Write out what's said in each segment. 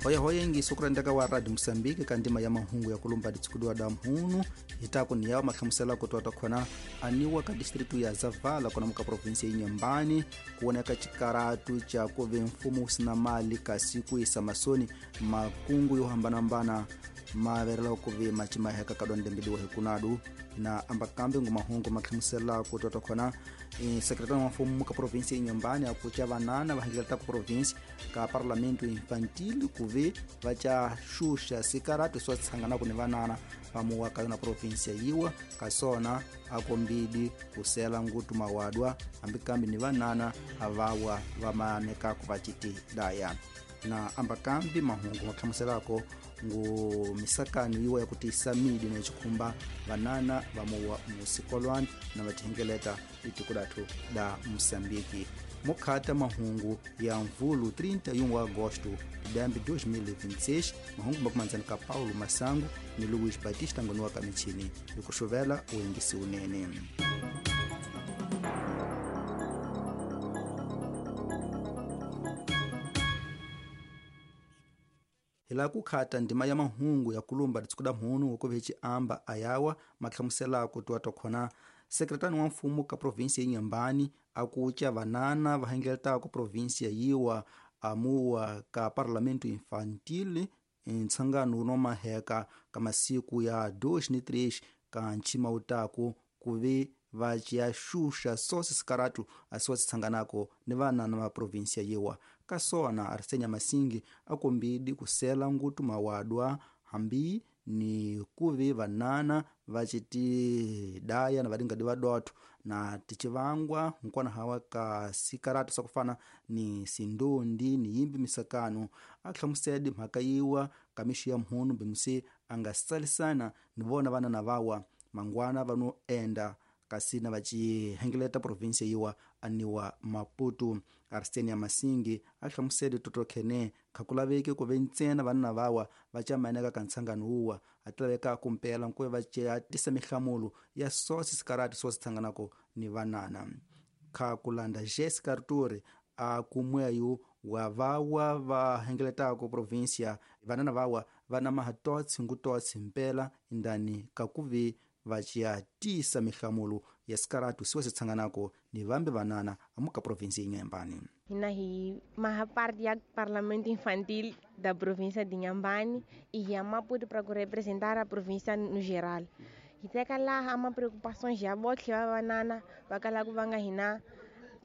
Hoyahoya ingiso kurendeka wa Radio Mosambiki ka ndima ya mahungu ya kulumba ditsikudiwa da mhunu hitaku ni yawo mahlamusela ku twata khona aniwa ka distritu ya Zavala kona muka provinsi ya Inhambane kuoneka chikaratu cha kuve mfumo usina mali kasi kuisa masoni makungu yo hambanambana maverela kuve machimaheka kadondembidiwa hikunadu na ambakambe ngumahungu mahlamusela ku twata khona sekretari wa mfumo ka provinsi ya Inhambane akucha vanana vahingileta ku provinsi ka parlamento infantil kuve vacha xuxa sikaratu swa tshangana ku ni vanana pamuwa ka yona provinsi ya yiwa kasona akombidi kusela ngutu mawadwa ambikambi ni vanana avawa vamaneka ku vachiti daya na ambakambi mahungu mahlamuselako ngu misakano yiwa ya kutisa midi na chikhumba vanana vamuwa musikolwani na vachihengeleta itiko lathu da Mosambiki. Mukhata mahungu ya mvulu 31 agosto dambi 2026 mahungu makumanzani ka Paulo Masango ni Luiz Batista ngonuwa kamichini ikuxuvela uingisi unene. Hila kukhata ndima ya mahungu ya kulumba ditsikuda mhunu ukuvechi amba ayawa mahlamusela ku twata khona sekretari wa mfumo ka provinsi ya Inhambane akucha vanana vahengeleta ku provinsi ya yiwa amuwa ka parlamento infantil ntsangano no maheka ka masiku ya 2 ni 3 ka nchima utaku kuve vachiya xuxa sosi sikaratu asiwa sitsanganako ni vanana va provinsi ya yiwa kasona Arsenia Masingi akombidi kusela ngutu mawadwa hambi ni kuve vanana vachitidaya na vadingadi vadotho na tichivangwa nkwana hawa ka sikaratu sakufana ni sindondi ni yimbi misakano ahlamusedi mhaka yiwa kamixi ya mhunu bimusi angasalisana ni vona vanana vawa mangwana vano enda kasi na vachihengeleta provinsi yiwa aniwa Maputo. Arsenia Masingi ahlamusele totokhene khakulaveki kuve ntsena vanana vawa vachamaneka ka ntsangano wuwa atilaveka kumpela nkuve vachatisa mihlamulo ya sosi sikarati so sitsanganako ni vanana. Khakulanda Jessica Arturi akumweyu wa vawa vahengeletako provinsia vanana vawa vana mahatotsi ngutotsi mpela indani kakuve vachiatisa mihlamulo ya sikaratu siwa sitsanganako ni vambe vanana amuka provinsi ya Inhambane. Hina hi maha parte ya parlamento infantil da província de Inhambane e hi Maputo para representar a província no geral. Hi teka laha ama preocupações ya botlhe va vanana va kala ku va nga hina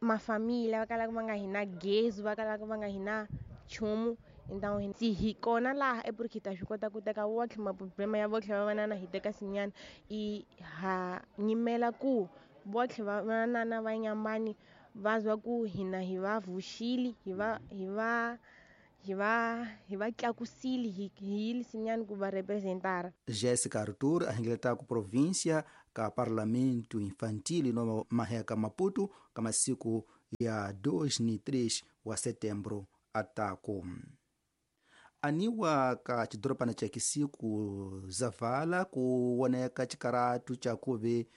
mafamília, va kala ku va nga hina gezi, va kala ku va nga hina nchumu. Então se hi kona laha é porque ta swi kota ku teka wotlhe maproblema ya votlhe va vanana hi teka sinyana i ha nyimela ku votlhe va vanana va Inhambane va zwa ku hina hi va vuxile hi va tlakusile hi yile sinyana ku va representara. Jessica Artur ahengeleta ku província ka parlamento infantil no maheka Maputo ka masiku ya 2 ni 3 wa setembro ataku. Aniwa ka chidoropana cha Kisiku Zavala kuoneka chikaratu cha kuve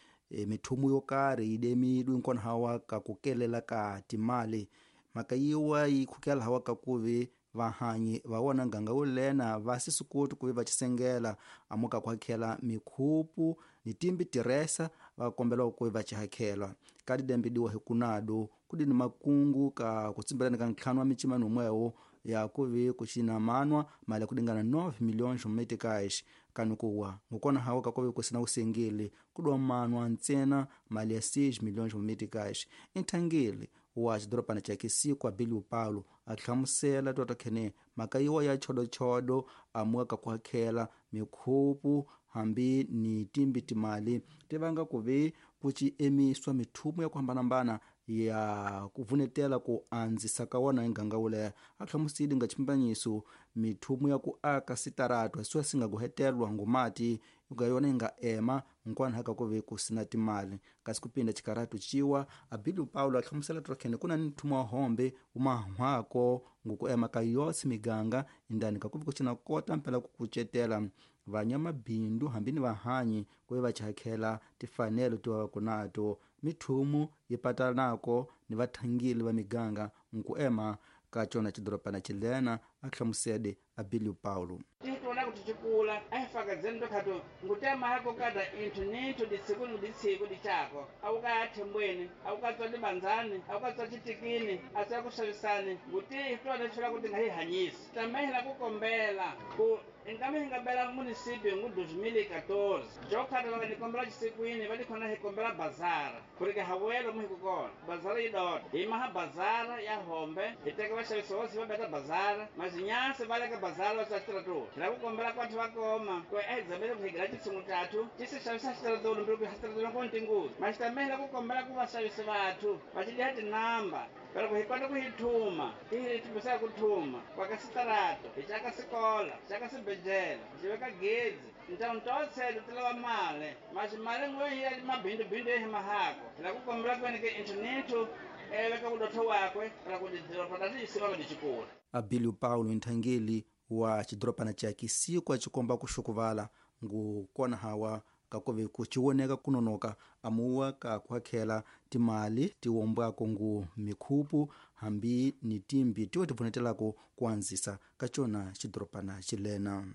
mithumu yo karhi idemidwe nkona hawa ka kukelela ka timali mhaka yiwa yi khukela hawa ka kuve vahanyi va wona nganga wo lena va sisikuti kuve va chisengela amuka ku hakhela mikhupu ni timbi tiresa va kombela kuve va chihakhela ka didembidiwa hikunadu kudi ni makungu ka kutsimbelana ka ntlhanu wa michimano mwewo ya kuve kuchinamanwa mali ya kudingana 9 milhões meticais kanukuwa ngukona hawa kakuve kusina usengeli kudiwa manwa ntsena mali ya 6 milhões meticais inthangeli wa xidoropana cha Kisiku Abilio Paulo ahlamusela twatokhene mhaka yiwa ya chodochodo amuka ku hakhela mikhupu hambi ni timbi timali ti vanga kuve ku ci emiswa mithumu ya ku hambanahambana ya ku vunetela ku andzisa ka wona nganga wuleya a hlamusile nga chimbanyiso mithumu ya ku aka sitaratu asiwa singa kuhetelwa ngumati nga yona inga ema nkwana haka kuve kusina timali kasi kupinda chikaratu chiwa Abilio Paulo ahlamusela trokhene kuna ni nthumu wa hombe umahwako nguku ema ka yotsi miganga indani kakuve kuchina kota mpela kukucetela vanyamabindu hambi ni vahanyi kuve vachakhela tifanelo tiwa kunato mithumu yipatanako ni vathangeli va miganga nkuema Ka cona cidorobana cilena a hlamusede Abilio Paulo. Titona kuti cikula ahifakazeni ndokhato ngutema kada inthu ninthu ditsiku ni ditsiku dicako awukayathembweni awukatswa libanzani awukatswa citikini asiya kuxavisani nguti hitona xula kuti ngahihanyisi tamehela kukombela ku inkame hingabela munisipio ngu 2014 jokhata vaka nikombela cisikwini va likhona hikombela bazara kurike hawelo muhikukona bazara yidota himaha bazara ya hombe hiteka vaxavisi vosi va beta bazara mazinyasi va leka bazara va xitratulu hila kukombela kwathu va koma ku ehizamele kuhigela cisingu cathu cisi xavisa xitratulu mbiri ku xitratulu ku ntinguzi maxitamehela kukombela ku vaxavisi vathu va cidiha tinamba pero ku hi kota ku hi thuma ti hi ku thuma kwaka sitarato hi caka sikola caka sibedlele hi veka gezi ntawu ntotselo ti lava mali maxi mali ngwe hi ya mabindubindu ya hi mahako hi la ku kombela kwene ke inthu ninthu eveka kudotho wakwe ra ku tidoropa ta tiyisima ticikula. Abilio Paulo nthangeli wa cidorobana ca Kisiko acikomba kuxukuvala ngu kona hawa kakuve kuciwoneka kunonoka amuwa ka kuhakhela timali tiwombwako ngu mikhupu hambi ni timbi tiwe tivunetelako kuanzisa ka cona cidorobana cilena.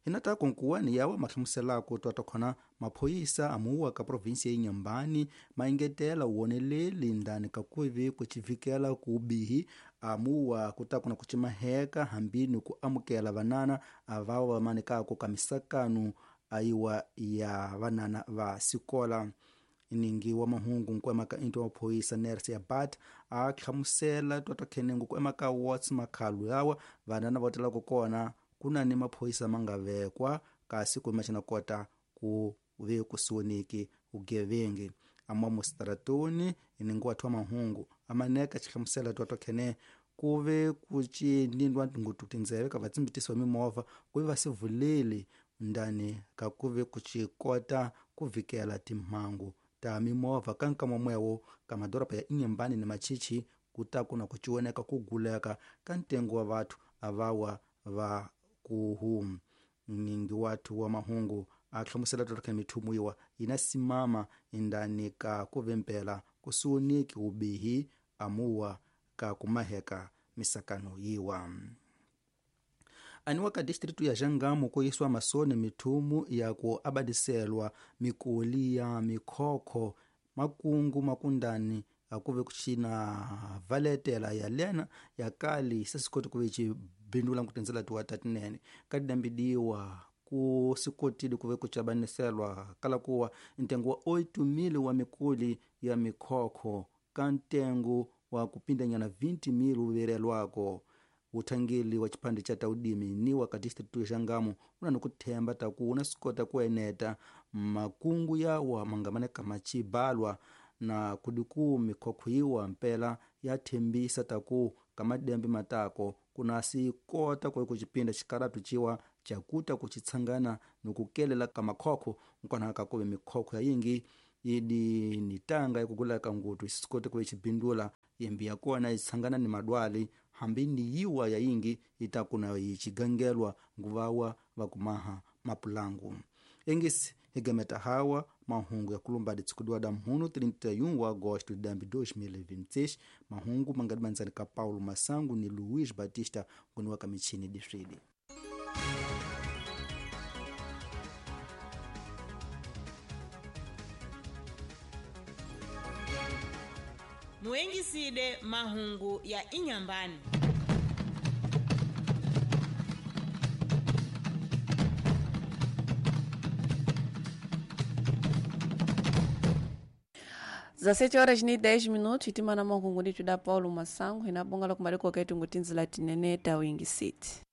Hinatako nkuwani yawa mahlamuselako twatakhona maphoyisa amuwa ka provinsia ya Inhambane maengetela uwoneleli ndani kakuvi kucivikela kuubihi amuwa kutakuna kucimaheka hambi ni ku amukela vanana avawa vamanikako ka misakanu ayiwa ya vanana va sikola. Iningi wa mahungu nkuemaka into wa maphoyisa Nerse Abat a hlamusela twatwakhenengu kuemaka Watts makhalu yawa vanana va telako kona kuna ni maphoyisa mangavekwa kasi kumexana kota ku ve kusiwoneki ugevenge ama mustratoni iningi wathu wa mahungu amaneka xihlamusela twatwakhene kuve kucinindwa ngutu tindzeve ka vatsimbitisi va mimovha kuve va sivuleli ndani ka kuve kucikota ku vikela timhangu ta mimovha ka nkama mwewo ka madoroba ya Inhambane ni Machichi kutaku na kuciwoneka kuguleka ka ntengo wa vathu avawa va kuhu. Ningi wathu wa mahungu a hlamusela twatwakhe mithumu yiwa yina simama indani ka kuvempela kusiwoneki ubihi amuwa ka kumaheka misakano yiwa. Aniwa ka distritu ya Jangamo kuyiswa masoni mithumu ya ku abadiselwa mikoli ya mikhokho makungu makundani akuve kuchina valetela ya lena ya kali sesikoti kuve cibindula nkutinzela tiwa tatinene kadidambidiwa ku sikotile kuve kucabaniselwa kala kuwa ntengo wa 8,000 wa mikoli ya mikhokho ka ntengo wa kupindanyana 20,000 uverelwako. Uthangeli wa chiphande cha taudimi ni wa ka distritu ya Jangamo una nikuthemba taku una sikota kueneta makungu yawa mangamaneka macibalwa na kudiku mikhokho yiwa mpela ya thembisa taku kamadembe matako kuna sikota kwe kucipinda xikaratu ciwa cakuta kucitshangana nikukelela ka makhokho nkwana kakuve mikhokho ya yingi idi ni tanga yakugulaka ngutu isikote kuve cibindula yembi ya kona itshangana ni madwali hambi ni yiwa ya yingi itakuna yicigangelwa nguvawa vakumaha mapulangu. Engisi higameta hawa mahungu ya kulumba ditsikudiwa da mhunu 31 wa agosto de 2026 mahungu mangadimanzani ka Paulo Masangu ni Luiz Batista nguniwa ka michini diswidi. Muengiside mahungu ya Inhambane. Zasete horas ni 10 minutos itimana mahungu nditu da Paulo Masangu inabonga la kumaliko ketu ngutinzila tinene ta wingi city.